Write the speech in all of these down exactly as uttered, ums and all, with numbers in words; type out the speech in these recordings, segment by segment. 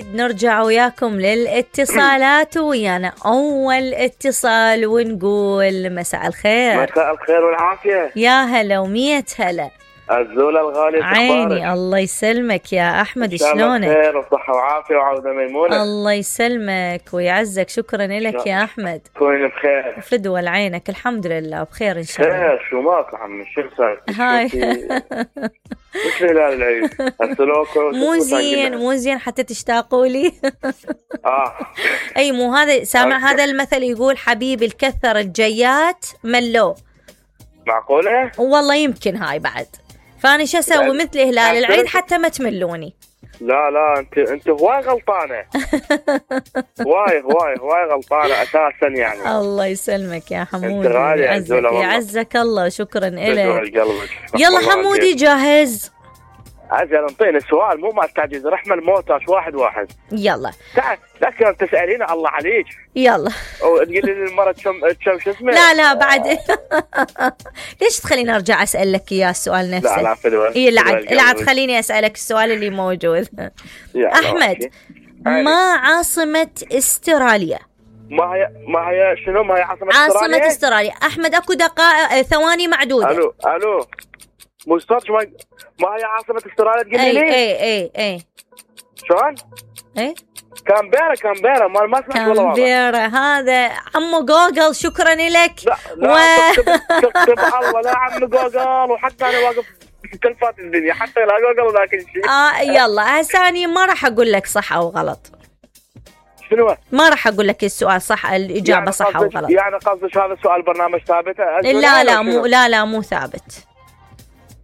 نرجع وياكم للاتصالات ويانا أول اتصال ونقول مساء الخير. مساء الخير والعافية. يا هلا ومية هلا. الزولة الغالية عيني الله يسلمك يا أحمد، شلونك؟ خير وصحة وعافية وعودة ميمونة. الله يسلمك ويعزك، شكرا لك يا أحمد. كوني بخير. فدوى عينك، الحمد لله بخير إن شاء الله. خير شو ماك عمي، شو صار؟ هاي وش هلال العيد؟ السلوكو مو زين مو زين حتى تشتاقوا لي. اه اي مو هذا سامع، هذا المثل يقول حبيبي الكثر الجيات ملو. معقولة؟ والله يمكن هاي بعد، فأنا شو أسوي مثل هلال العيد حتى ما تملوني. لا لا انت انت هواي غلطانة. هواي هواي هواي غلطانة اساسا يعني. الله يسلمك يا حمودي، انت غالي يعزك يعزك الله، شكرا لك. يلا حمودي جاهز؟ عزل انطيني السؤال مو ما تعجز، رحمة الموتاش واحد واحد. يلا تعال لكن تسألين الله عليك. يلا وتقولي لي المرة كم كم شو اسمه. لا لا بعد. ليش تخليني ارجع اسالك اياه السؤال نفسه؟ لا لا فدوى. اي لا عاد لا عاد خليني اسالك السؤال اللي موجود. احمد ما عاصمة استراليا؟ ما هي ما هي شنو ما هي عاصمة استراليا؟ عاصمة استراليا احمد اكو دقائق ثواني معدودة. الو الو مسترش ما ما هي عاصمة استراليا تقولي لي؟ اي اي اي شلون؟ اي كامبيرا كامبيرا ما ما سمعت والله. كامبيرا هذا عمو جوجل، شكرا لك. لا لا و... تكتب الله لا عمو جوجل، وحتى انا واقف في تلفات الدنيا حتى لا جوجل ولا كل شيء. اه يلا هساني ما راح اقول لك صح او غلط. شنو؟ ما راح اقول لك السؤال صح الاجابه يعني صح او غلط. يعني قصدك هذا السؤال برنامج ثابت؟ لا لا مو لا لا مو ثابت.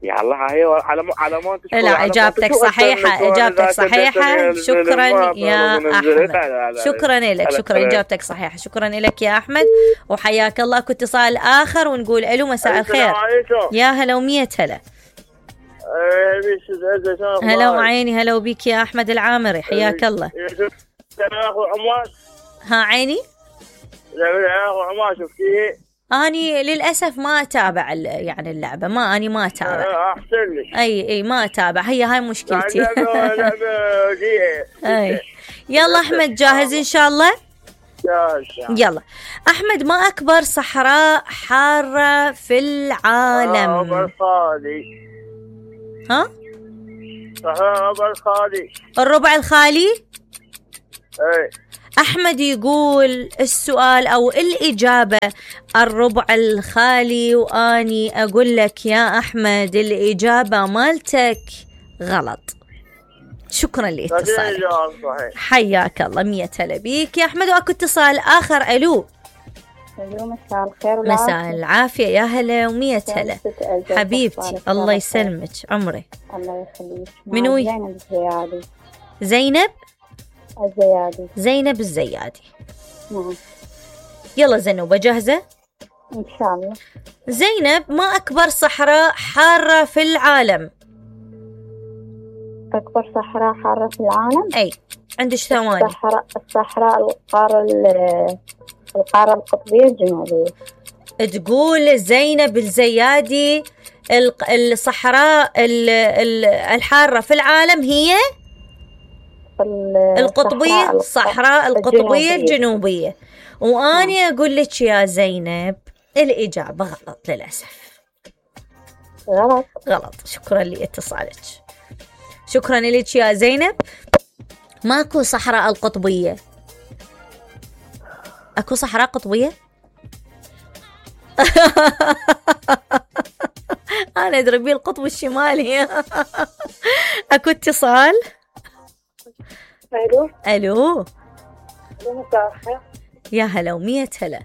يا الله هي على مو على مو لا اجابتك صحيحه، اجابتك صحيحه. شكرا يا احمد، شكرا لك، شكرا اجابتك صحيحه. شكرا لك يا احمد وحياك الله. كنت اتصال اخر ونقول الو مساء الخير. يا هلا ومية هلا. هلا وعيني، هلا وبيك يا احمد العامري، حياك الله. ها عيني. أني للأسف ما أتابع يعني اللعبة، ما أني ما أتابع. أحسن لك. أي أي ما أتابع، هي هاي مشكلتي. أي يلا أحمد جاهز إن شاء الله؟ يلا أحمد ما أكبر صحراء حارة في العالم؟ الربع الخالي. ها؟ الربع الخالي. الربع الخالي؟ أي. أحمد يقول السؤال أو الإجابة الربع الخالي، وأني أقول لك يا أحمد الإجابة مالتك غلط. شكرا لاتصالك، حياك الله. مية هلا بيك يا أحمد. وأكو اتصال آخر. ألو مساء الخير. مساء العافية. يا هلا ومية هلا حبيبتي، الله يسلمك عمري. الله يخليك. منو؟ زينب الزيادي. زينب الزيادي. زينب الزيادي. نعم. يلا زنوبة جاهزة؟ إن شاء الله. زينب ما أكبر صحراء حارة في العالم؟ أكبر صحراء حارة في العالم؟ أي عندك ثواني. الصحراء الصحراء القارة القارة القطبية الجنوبية. تقول زينب الزيادي الصحراء الحارة في العالم هي القطبية، الصحراء القطبية الجنوبية. وأنا أقول لك يا زينب الإجابة غلط للأسف. غلط غلط. شكرا لاتصالك، شكرا لك يا زينب. ماكو صحراء القطبية. أكو صحراء قطبية؟ أنا أدري بيه القطب الشمالي. أكو اتصال. ألو ألو مساء الخير. يا هلا ومية هلا.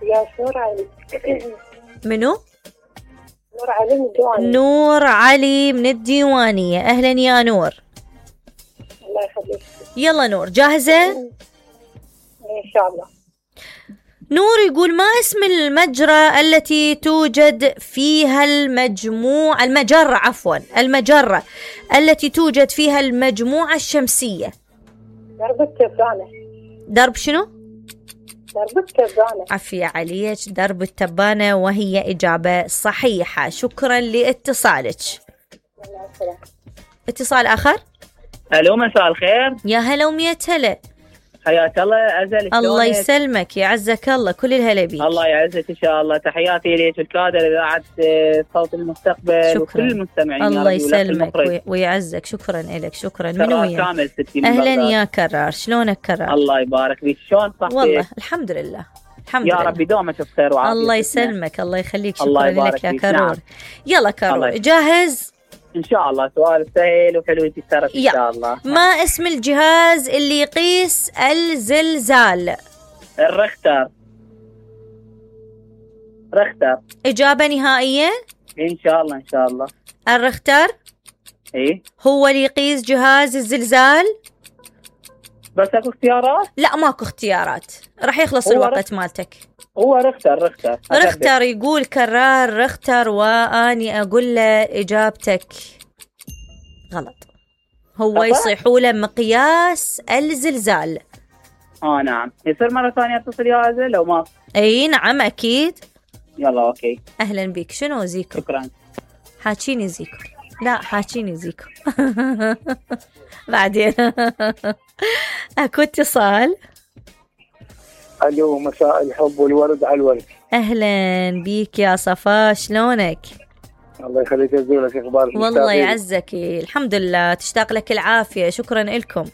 يا نور علي. منو؟ نور علي من الديوانية. نور علي من الديوانية، أهلا يا نور. الله يخليك. يلا نور جاهزة؟ إن شاء الله. نور يقول ما اسم المجرى التي توجد فيها المجموعة المجرة عفوا المجرة التي توجد فيها المجموعة الشمسية؟ درب التبانة. درب شنو؟ درب التبانة. عفية عليك، درب التبانة، وهي إجابة صحيحة. شكرا لاتصالك. اتصال آخر. الو مساء الخير. يا هلا ومية هلا. حياك الله ازل. الله يسلمك يعزك الله، كل الهلا بيك. الله يعزك ان شاء الله. تحياتي لك الكادر اذاعه صوت المستقبل. شكرا. وكل المستمعين. الله يسلمك ويعزك. شكرا لك. شكرا. من وياك؟ كامل ستي. اهلا يا كرار، شلونك كرار؟ الله يبارك فيك. شلون صحتك؟ والله الحمد لله الحمد يا لله. رب دومك بخير وعافيه. الله يسلمك الله يخليك. شكرا الله لك يا كرور. نعم. يلا كرور جاهز؟ ان شاء الله. سؤال سهل وحلو يتسرف ان شاء الله. ما اسم الجهاز اللي يقيس الزلزال؟ الرختر. رختر. إجابة نهائية؟ ان شاء الله ان شاء الله. الرختر ايه هو اللي يقيس جهاز الزلزال؟ بس اكو اختيارات؟ لا ماكو اختيارات، راح يخلص الوقت مالتك. هو رختر. رختر رختر يقول كرار رختر، واني اقول له اجابتك غلط. هو أطلع؟ يصيحوا له مقياس الزلزال. اه نعم. يصير مرة ثانية اتصل يا ازل لو ما؟ اي نعم اكيد. يلا اوكي. اهلا بك. شنو زيكو؟ شكرا. حاكيني زيكو. لا حاكيني زيكو. بعدين. اكو اتصال. الو مساء الحب والورد على الورد. اهلا بيك يا صفا، شلونك؟ الله يخليك ازولك. اخبارك؟ والله يعزك الحمد لله. تشتاق لك العافيه. شكرا لكم.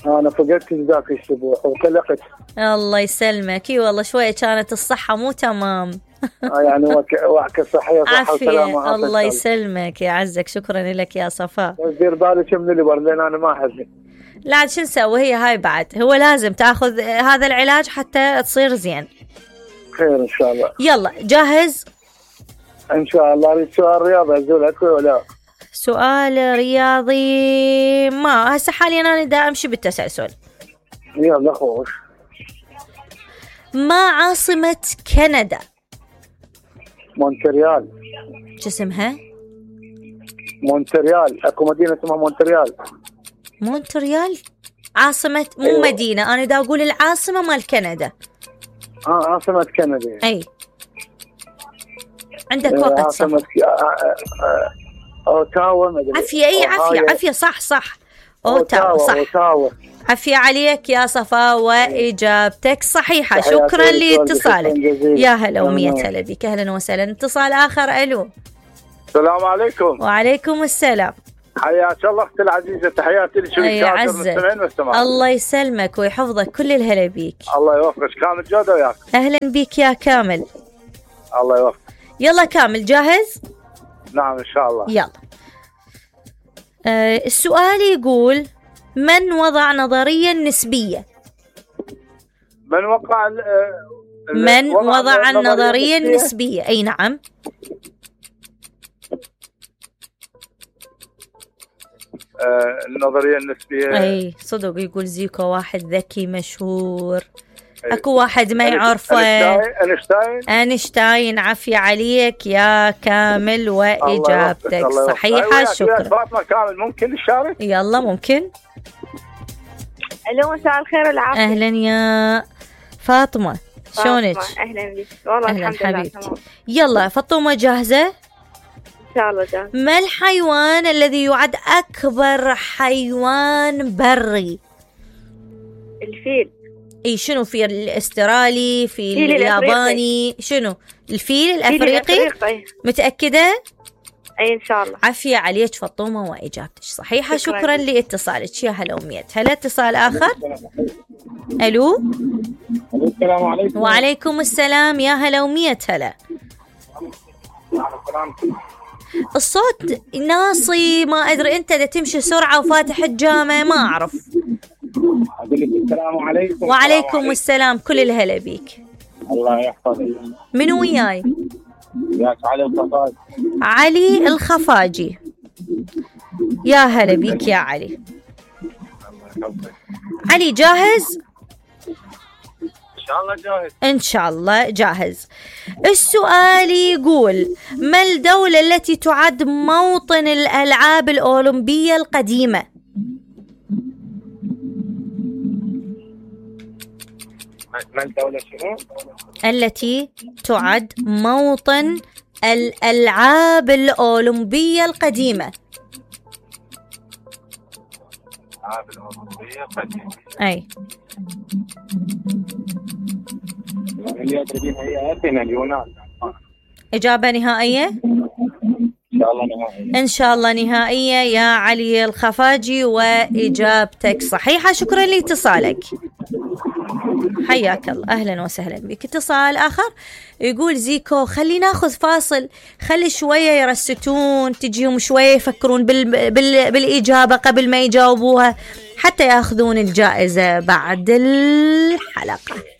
انا فقدت ذاك الاسبوع وقلقت. الله يسلمك. اي والله شويه كانت الصحه مو تمام. يعني وعكه صحيه صحه وسلامه. الله يسلمك يعزك. شكرا لك يا صفاء. دير بالك من اللي برد لان انا ما احزن. لا شو نسوي، هي هاي بعد هو لازم تاخذ هذا العلاج حتى تصير زين. خير ان شاء الله. يلا جاهز؟ ان شاء الله. اريد سؤال رياضي ازول اكو ولا؟ سؤال رياضي ما هسه حاليا انا دا امشي بالتسلسل. يلا خوش. ما عاصمة كندا؟ مونتريال. شو اسمها؟ مونتريال. اكو مدينه اسمها مونتريال. مونتريال عاصمة مو أيوة. مدينة، انا دا اقول العاصمة مال كندا. اه عاصمه كندا. اي عندك وقت. عاصمه صح. اوتاوا. ما ادري. عافية. اي عافية عافية. صح صح. اوتاوا صح. أوتاوا. عافية عليك يا صفا واجابتك صحيحة. شكرا لاتصالك. يا هلا ومية هلا بك. اهلا وسهلا. اتصال اخر. الو. السلام عليكم. وعليكم السلام. حياك الله اختي العزيزه. تحياتي لك وللكادر. الله يسلمك ويحفظك. كل الهلا بيك. الله يوفقك. كامل جوده وياك. اهلا بيك يا كامل. الله يوفقك. يلا كامل جاهز؟ نعم ان شاء الله. يلا. آه السؤال يقول من وضع نظرية النسبية؟ من وقع ال من وضع, وضع النظرية النسبية؟ اي نعم. آه النظرية النسبية. اي صدق. يقول زيكو واحد ذكي مشهور. اكو واحد ما يعرفه. أنشتاين. أنشتاين. عافية عليك يا كامل واجابتك صحيحة. شكرا. فاطمة كامل ممكن نشارك؟ يلا ممكن. الو مساء الخير والعافية. اهلا يا فاطمة، شلونك؟ اهلا بك. والله أهلاً الحمد لله حبيبتي. تمام. يلا فاطمة جاهزة؟ ان شاء الله جاهز. ما الحيوان الذي يعد أكبر حيوان بري؟ الفيل. اي شنو؟ في الاسترالي، في الياباني، شنو؟ الفيل الافريقي. الافريقي. متأكدة؟ اي ان شاء الله. عافية عليك فاطمة واجابتك صحيحة. شكرا, شكرا لاتصالك. يا هلا ومية هلا. اتصال اخر. الو. السلام عليكم. وعليكم السلام. يا هلا ومية هلا. الصوت ناصي، ما ادري انت اذا تمشي سرعة وفاتح الجامع ما اعرف. السلام عليكم. وعليكم السلام. كل الهلا بيك. الله يحفظك. من وياي؟ وياك علي الخفاجي. علي الخفاجي. يا هلا بيك يا علي. علي جاهز؟ ان شاء الله جاهز. ان شاء الله جاهز. السؤال يقول ما الدولة التي تعد موطن الألعاب الأولمبية القديمة؟ ما الدولة شنو؟ التي تعد موطن الألعاب الأولمبية القديمة. أي اللي تبين هي أثينا اليونان. إجابة نهائية؟ إن شاء الله نهائية. إن شاء الله نهائية يا علي الخفاجي، وإجابتك صحيحة. شكرا لاتصالك، حياك الله، أهلا وسهلا بك. اتصال آخر يقول زيكو خلي ناخذ فاصل، خلي شوية يرستون، تجيهم شوية يفكرون بال... بال... بالإجابة قبل ما يجاوبوها حتى يأخذون الجائزة بعد الحلقة.